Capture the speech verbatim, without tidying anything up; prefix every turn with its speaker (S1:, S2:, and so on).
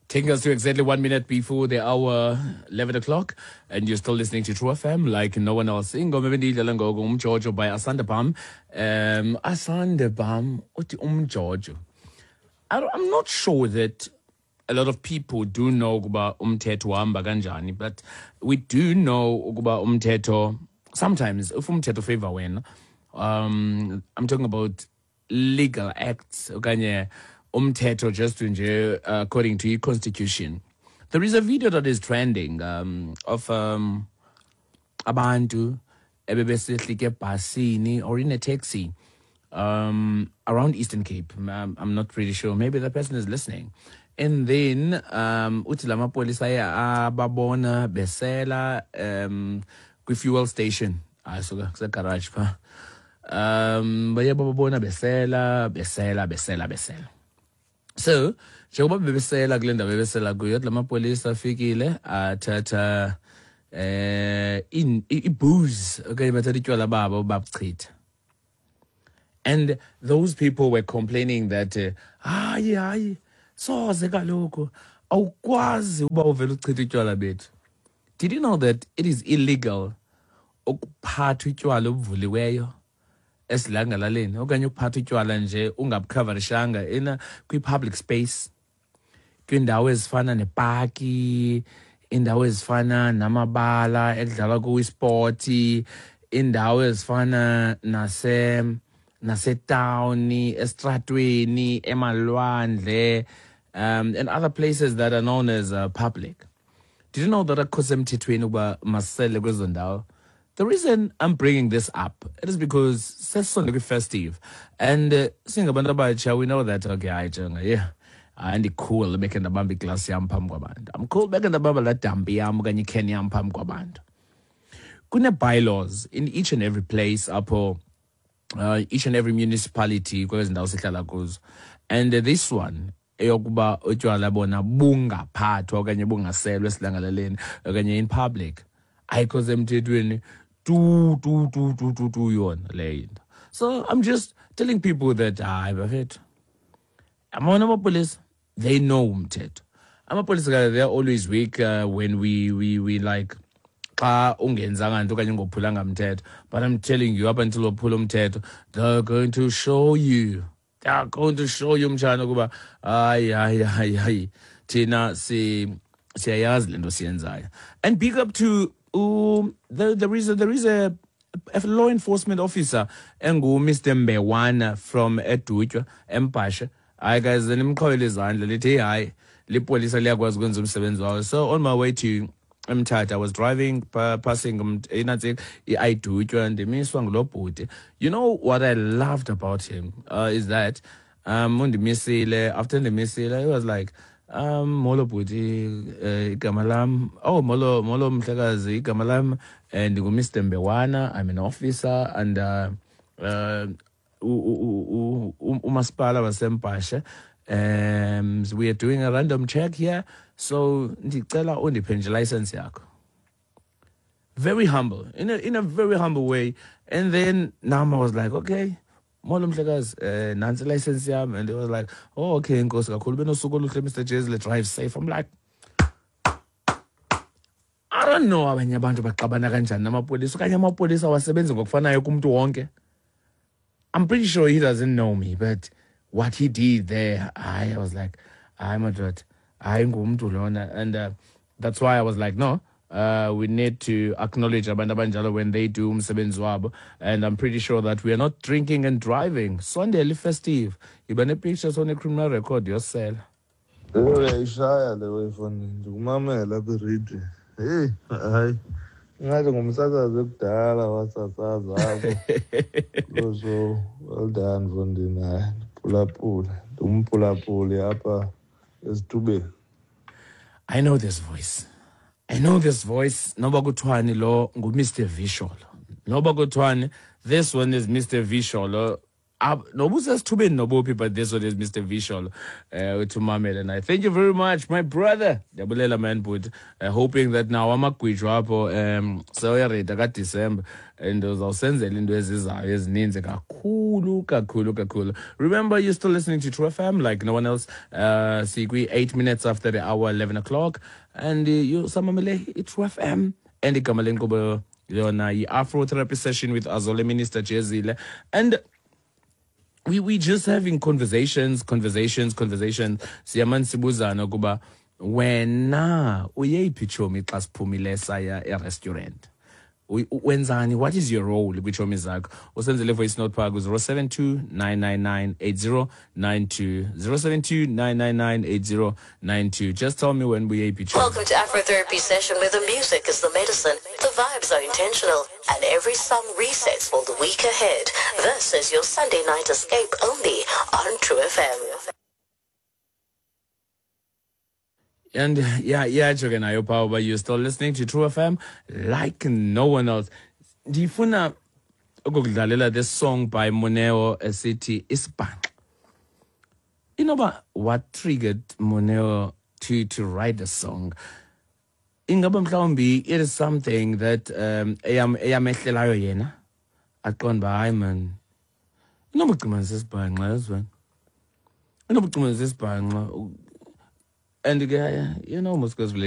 S1: Taking us to exactly one minute before the hour eleven o'clock, and you're still listening to True F M like no one else. Ingoma ebendiyidlala ngoku Umjojo by Asanda Bam. Um, Asanda Bam, uthi Umjojo. I don't- I'm not sure that a lot of people do know ukuba umthetho uhamba kanjani, but we do know ukuba umthetho, sometimes if umthetho favor wena, um, I'm talking about legal acts okanye umthetho just nje uh, according to i-constitution. There is a video that is trending um, of um, abantu ebebesehlike ebhasini or in a taxi um, around Eastern Cape. I'm, I'm not really sure. Maybe the person is listening. And then um, uthi la mapolisa aye ababona besela um, kwi-fuel station. Hayi suka kusegarage pha. Um, baye bababona besela, besela, besela, besela. So njengoba bebesela kule ndawo bebesela kuyo, la mapolisa afikile athatha eh in i-booze okanye bathatha itywala babo babuchitha. And those people were complaining that uh, hayi hayi, soze kaloku, awukwazi uba uvele uchitha utywala bethu. Did you know that it is illegal ukuphatha utywala obuvuliweyo esidlangalaleni okanye ukuphatha utywala nje ungabukhavarishanga ina kwi-public space, kwiindawo ezifana nepaki, indawo ezifana namabala ekudlalwa kuwo ispoti, indawo ezifana nase nasetawuni, estratweni, emalwandle, um, and other places that are known as uh, public? Did you know that akukho semthethweni ukuba masele kwezo ndawo? The reason I'm bringing this up, it is because sesisondele kwi-festive and uh, singabantu abatsha, we know that, okay, hayi jonga, yeah, hayi, ndi-cool bekhe ndabamba iglasi yam phambi kwabantu, I'm cool bekhe ndabamba laa dampi yam okanye ikheni yam phambi kwabantu. Kune-bylaws in each and every place apho, uh, each and every municipality kwezi ndawo sihlala kuzo, and uh, this one eyokuba utywala bona bungaphathwa okanye bungaselwa esidlangalaleni okanye in public ayikho semthethweni tu tu tu tu tu tu yona leyo into. So I'm just telling people that hayi bafethu, amona amapolisa, they know umthetho. Amapolisa ke, they're always weak uh, when we we we like xa ungenzanga nto okanye ungophulanga mthetho, but I'm telling you, up until waphula umthetho, they're going to show you, they are going to show you, mtshana, ukuba hayi hayi hayi hayi, thina si siyayazi le nto siyenzayo. And big up to um, there, there is a, there is a, a law enforcement officer engu Mister Mbewana from eDutywa eMbhashe. Hayi guys, nimqhwabele izandla, lithi hey, hayi, lipolisa liyakwazi ukwenza umsebenzi wawo. So on my way to eMthatha, I was driving pa, passing um, inantsi i-iDutywa, ndimiswa ngulo bhuti. You know what I loved about him uh, is that um undimisile. After ndimisile, he was like, um molo bhuti, uh, igama lam, oh, molo molo mhlekazi, igama lam eh, ndingu-Mister Mbewana, I'm an officer and uh, uh, u- u- u- umasipala waseMbhashe, um we are doing a random check here, so ndicela undiphe nje license yakho. Very humble, in a, in a very humble way. And then nam I was like, "Okay, molo mhlekazi, eh nansi license yam." And he was like, "Oh, okay, enkosi kakhulu, benosuku oluhle, Mister Jezile, drive safe." I'm like, I don't know abanye abantu baxabana kanjani namapolisa okanye amapolisa awasebenzi ngokufanayo kumntu wonke. I'm pretty sure he doesn't know me, but what he did there, I, I was like, hayi madoda, hayi, ngumntu lona. And uh, that's why I was like, no, uh, we need to acknowledge abantu abanjalo when they do umsebenzi wabo. And I'm pretty sure that we are not drinking and driving. Sondela festive. Yiba ne-picture sone-criminal record yosela.
S2: Uyayishaya le wefoni, ndikumamela apha irediyo. Heyi hayi, ingathi ngumsasazi ekudala wasasaza apho kuloo show. Well done, mfondini. Hayi, ndiphulaphule, ndingumphulaphuli apha esithubeni.
S1: I know this voice. I know this voice. Noba kuthiwani, lo ngu-Mister Visholo. Noba kuthiwani, this one is Mister Visholo. Noba usesithubeni nobuphi, but this one is Mister Vishal, uh, uthi umamele naye. Thank you very much, my brother. Ndiyabulela, man, but uh, hoping that now amagwijo apho um sewuyareda kaDisemba and uzawusenzela into ezizayo ezininzi kakhulu kakhulu kakhulu. Remember, you're still listening to True F M like no one else. uh sikwi eight minutes after the hour eleven o'clock and uh, you samamele i-True F M and igama lenkqubo yona yi-Afro Therapy Session with Azole Minister Jezile, and we we just having conversations, conversations, conversations. Siyamane sibuzana ukuba wena uyeyiphi tshomi xa siphumile saya e-restaurant. Wenzani? What is your role kwiitshomi zakho? Usenzele voice note phaa ku-zero seven two nine nine nine eight zero nine two, zero seven two nine nine nine eight zero nine two. Just tell me when uyeyiphi tshomi.
S3: Welcome to Afrotherapy Session, where the music is the medicine, the vibes are intentional, and every song resets for the week ahead. This is your Sunday night escape only on True F M.
S1: And yeah, yeah, ke nayo phaa uba you're still listening to True F M like no one else. Ndifuna ukukudlalela this song by Moneo esithi Isibhanxa. Inoba what triggered Moneo to to write the song? Ingaba mhlawumbi it is something that um eyam eyamehlelayo yena, aqonda uba hayi man, inoba ucima sisibhanxa, yazi wena, inoba ucima sisibhanxa. And ke, you know, mos